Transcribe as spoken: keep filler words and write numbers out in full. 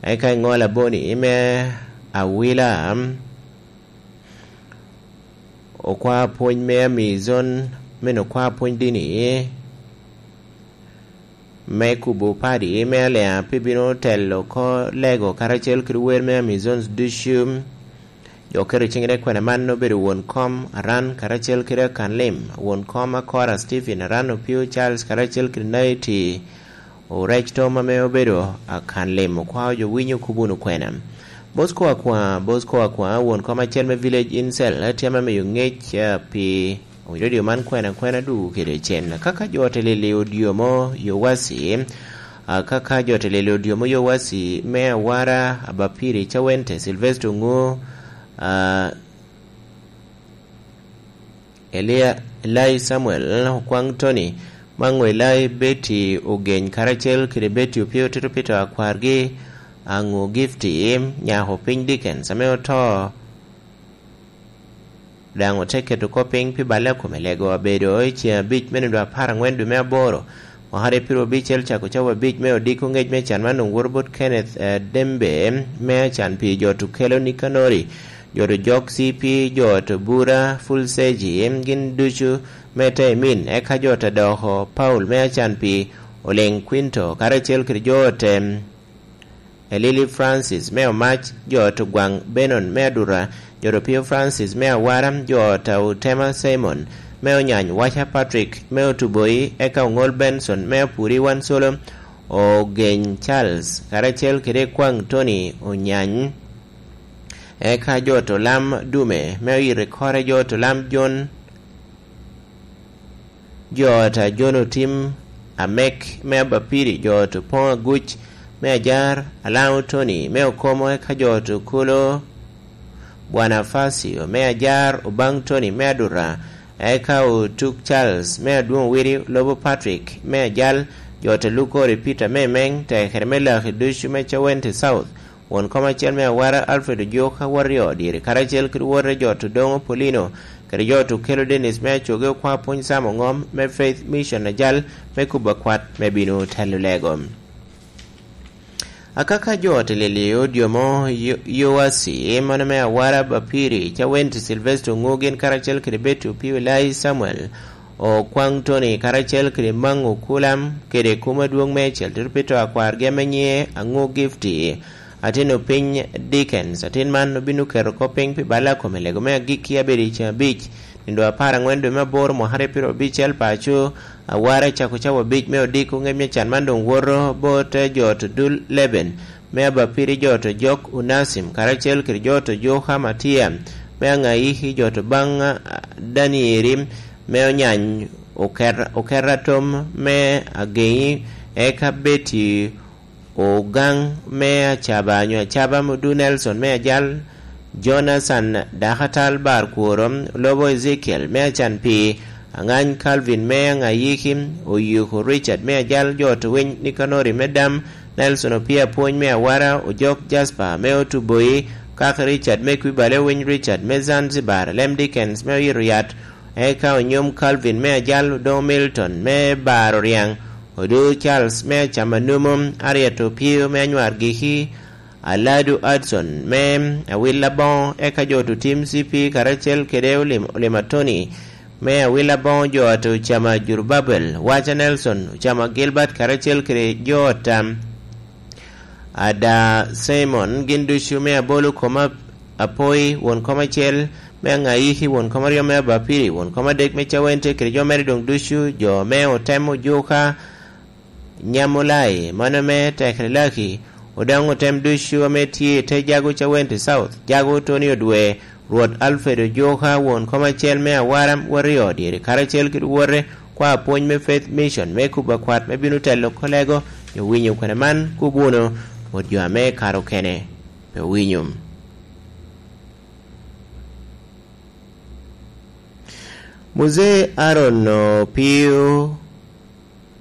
Eka iŋo laboni me awila, okwa pwony me amizon, meno okwa pwony dini me kubo padi me Alea, pe bino telo oko lego karacel kede wer me Amazons ducu. Jo keto ciŋ i kwena man obedo won kom Aran karacel kede akan lim, won kom Akora Stephen Aran Opio Charles karacel kede Naiti Orec Tom ame obedo akan lim, okwao jo winyo kop wunu kwena. Bosco Akwa, Bosco Akwa, won kom acel me Village Incel, tye ame miyo ŋec, eh, pi radio man kwena kwena dwogo kede cen. Kaka jo te lili odyomo Yowasi, ah, kaka jo te lili odyomo Yowasi me awara Abapiri Cawente, Sylvester Ongu, ah, Elia, Elai Samuel, Okwaŋ Tony, Maŋo Elai, Betty Ogeny, karacel kede Betty Opio Tito Peter akwargi, Aŋu Gifty, nyako piny Dickens, ame oto, daŋ ote keto kop piny pi balle a kome lego abedo i ceŋ abic me nino apar aŋwen dwe me aboro, mwaka aryo pyero abicel, cako cawa abic me odiko ŋec me can man onwoto bot Kenneth, eh, Dembe, me acan pi jo Tukelo Nikanori, jo to jok C P, jo to Bura, Full Seji, gin ducu me te Emin, eka jo to doko Paul me acan pi Oliŋ Quinto, karacel kede jo te Elili Francis me Omac, jo to Gwaŋ Benon me Adura, jo to Pio Francis me Awara, jo to Otema Simon me Onyany, Waca Patrick me Otuboi, eka Oŋol Benson me Apuri Wan Solo, Ogeny Charles, karacel kede Kwaŋ Tony Onyany, eka jo to Lam Dume me Oyito Kore, jo to Lam Jon, jo ot a Jon Otim, Amek me Abapiri, jo ot Opoŋ Aguc me Ajar, Alaŋo Tony me Okomo, eka jo ot Okolo Bwanafacio me Ajar, Obaŋ Tony me Adura, eka Otuk Charles me Adwoŋ Wiri, Lobo Patrick me Ajal, jo ot Lukori Peter me Emeŋ, tekere me Laki ducu me Cawente South, won kom acel me Awara Alfred Ojuka, Warrior Odiri, karacel kede wote jo ot Odoŋo Paulino, kede jo ot Okelo Dennis me Acoge, okwa pwony Sam Oŋom me Faith Mission Ajal, me kubo akwat me bino telo lego. Akaka jo ot Lili odyomo Yo-, Yoasi, mano me Awara Bapiri, Cawenti Sylvester Oŋu, gin karacel kede Betty Opio Elai Samuel, Okwaŋ Tony, karacel kede Maŋ Okulam, kede kum adwoŋ meicel, Tito Pito akwargi ame nyiŋe Aŋu Gifty, atin opiny Dickens, atin man obin oketo kop piny pi balla kome lego me agikki abedo i ceŋ abic, nino apar aŋwen dwe me aboro mwaka aryo pyero abicel paco, Awara cako cawa abic me odiko ŋec me can man doŋ woto bot jo ot Dul Leben me Abapiri, jo ot Jok Onacim, karacel kede jo ot Joka Matia me Aŋayiki, jo ot baŋ, ah, Danieri me Onyany, Oker-, Okerra Tom me Ageŋi, eka Betty Ogaŋ me Acaba, nyo Acaba Mudu Nelson me Ajal, Jonathan Dakatal Bar Kworo, Lobo Ezekiel me Acan Pii, Aŋany Calvin me Aŋayiki, Oyiko Richard me Ajal, jo ot Winy Nikanori me Dam, Nelson Opia Pwony me Awara, Ojok Jasper me Otuboi, Kak Richard me Kwibale, Winy Richard me Zanzibar, Lem Dickens me Oyito Yat, eka Onyom Calvin me Ajal, Odoŋo Milton me Bar Oriaŋ, Odo Charles me Acama Numo, Harriet Opio me Anywar Giki, Aladu Hudson me Awil Aboŋo, eka jo ot Otim C P karacel kede Olim-, Olima Tony me Awil Aboŋo, jo ot Ocama Jurubabel, Waca Nelson, Ocama Gilbert karacel kede jo ot, um, Ada Simon, gin ducu me Abolo Koma Apoi, won kom acel me Aŋayiki, won kom aryo me Abapiri, won kom adek me Cawente, kede jo mere doŋ ducu, jo me Otem Ojuka, Nyamulai, mano me Tekrelaki, Odaŋ Otem ducu ame tye i te Jago Cawente South, Jago Tony Odwe, Rwot Alfred Ojuka, won kom acel me Awara Warrior Dyeri, karacel kede wote, kwa pwony me Faith Mission me kubo akwat me bino telo kolego, nyo winyo kwena man, kub wunu bot jo ame kare okene pe owinyo. Muzee Aaron Opio